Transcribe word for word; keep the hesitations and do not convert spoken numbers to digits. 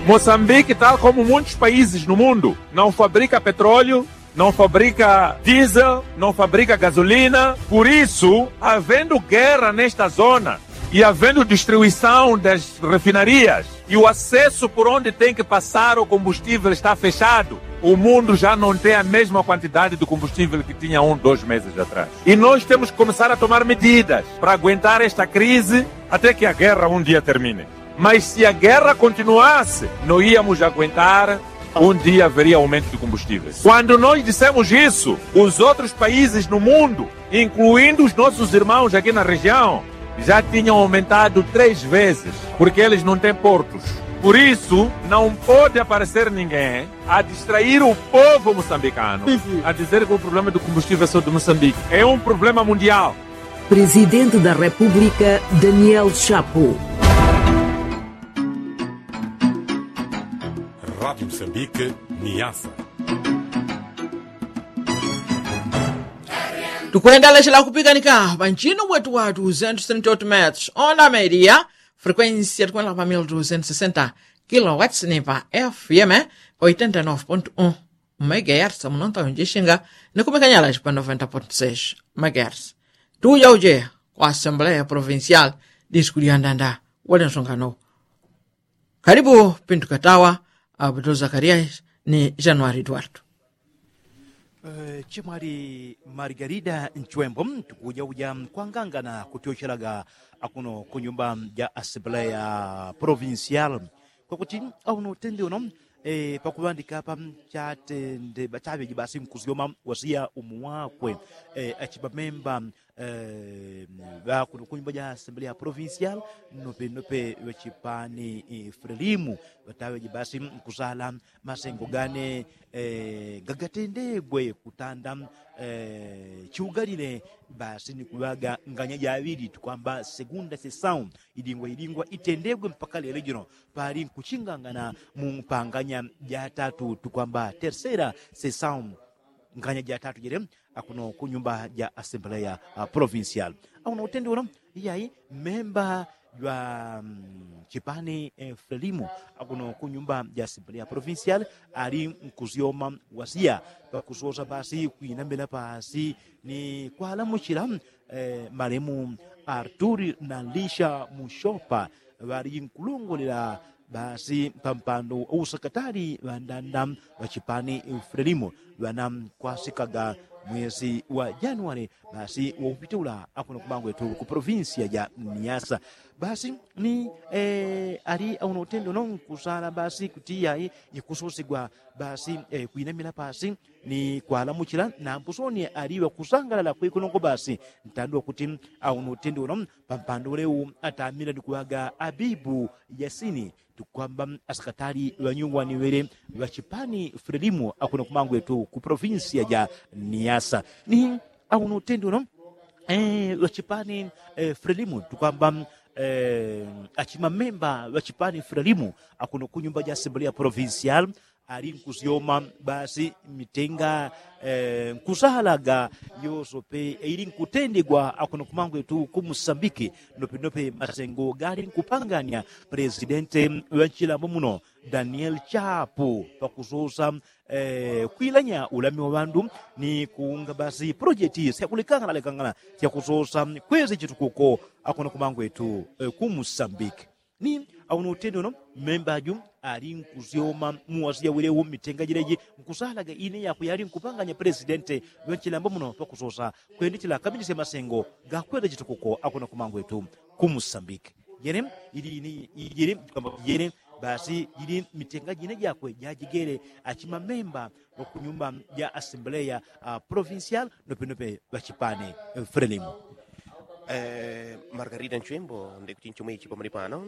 Moçambique, tal como muitos países no mundo, não fabrica petróleo, não fabrica diesel, não fabrica gasolina. Por isso, havendo guerra nesta zona e havendo destruição das refinarias e o acesso por onde tem que passar o combustível está fechado, o mundo já não tem a mesma quantidade de combustível que tinha um, dois meses atrás. E nós temos que começar a tomar medidas para aguentar esta crise até que a guerra um dia termine. Mas se a guerra continuasse, não íamos aguentar, um dia haveria aumento de combustíveis. Quando nós dissemos isso, os outros países no mundo, incluindo os nossos irmãos aqui na região, já tinham aumentado três vezes, porque eles não têm portos. Por isso, não pode aparecer ninguém a distrair o povo moçambicano, a dizer que o problema do combustível é só de Moçambique. É um problema mundial. Presidente da República, Daniel Chapo. Rádio Moçambique, Niassa. Tukwenda lechela kupikanika panchino wetu wa duzentos trinta e oito metros, onda media, frequência tukwenda pa mil duzentos sessenta kilowatts, ni pa F M oitenta e nove ponto um megahertz, munonta unjishinga, ni kumikanyala pa noventa ponto seis megahertz. Tuyauje kwa Assembleia Provincial, diskuliandanda wale nsongano. Karibu Pinto Katawa, Abdul Zakarias, ni Januari Eduardo. Eh, chimwali Margarida Nchwembo, tukujauja kwangangana kutyochelaga akuno ku nyumba ja Assembleia Provincial. Kwakuti auno utende uno, eh, pakuŵandika apa, chatende ba- chaŵeji basi nkusyoma wasiya umu wakwe, eh, achibamemba, eh, ŵakuno ku nyumba ja Assembleia Provincial, nope nope ŵachipani, eh, Frelimo, ŵataŵeji basi nkusala masengo gane, eh, gagatendegwe kutanda, eh, chiugalile basi ni kuŵaga nganya jaŵili tukwamba segunda sesau, idingwa idingwa itendegwe mpaka lelo jino, pali nkuchingangana mu mpanganya jatatu tukwamba tercera sesau, nganya jatatu jele, akuno ku nyumba ja Assembleia, ah, Provincial. Akuno utende uno, iyai, memba jwa, mm, chipani, eh, Frelimo, akuno ku nyumba ja Assembleia Provincial, ali nkusyoma wasiya, pakusosa basi kwinamila pasi ni kwalamuchila, eh, malemu Artur na Lisha Mushopa, ŵali nkulongolela basi pampando usakatali ŵandanda ŵachipani Frelimo ŵana kwasikaga mwesi wa Januari basi waupitula akuno kumangwetu ku provinsia ja Niasa. Basi ni, eh, ali auno utende uno nkusala basi kuti iyai ikusosigwa basi, eh, kwinamila pasi ni kwalamuchila na mbusoni ali ŵakusangalala kwekunongo basi ntandi wakuti auno utende uno pampando uleu atamila ni kuŵaga Abibu Yasini tukwamba asakatali ŵanyung'wani ŵele ŵachipani Frelimo akuno kumangwetu ku provinsia ja Niasa. Ni auno utende uno, eh, ŵachipani, eh, Frelimo tukwamba, eh, achimamemba ŵachipani Frelimo akuno ku nyumba ja Assembleia Provincial ali nkusyoma basi mitenga, eh, nkusalaga yosope ili nkutendegwa akuno kumangwetu ku Musambiki, nopenope masengo gali nkupangania presidente ŵanchilambo muno Daniel Chapo pakusosa, eh, kwilanya ulami wa ŵandu ni kuunga basi projeti syakulekanganalekangana syakusosa kwezi chitukuko akuno kumangwetu, eh, ku Musambiki. Ni auno utende uno memba aju ali nkusyoma muwasiya welewo mitenga jileji nkusalaga ine yakwe yali nkupanganya presidente ŵanchilambo muno pakusosa kwendechela kaminisya masengo gakweza chitukuko akuno kumangwetu ku Musambiki. Jene ili ini ijene kwamba jene basi ili mitenga jine jakwe jajigele achimamemba ŵakunyumba ja Assembleia, ah, Provincial nopenope ŵachipani, eh, Frelimo. Eh, Margarida Nchwembo, ndikuti nchomwechi pamuli pano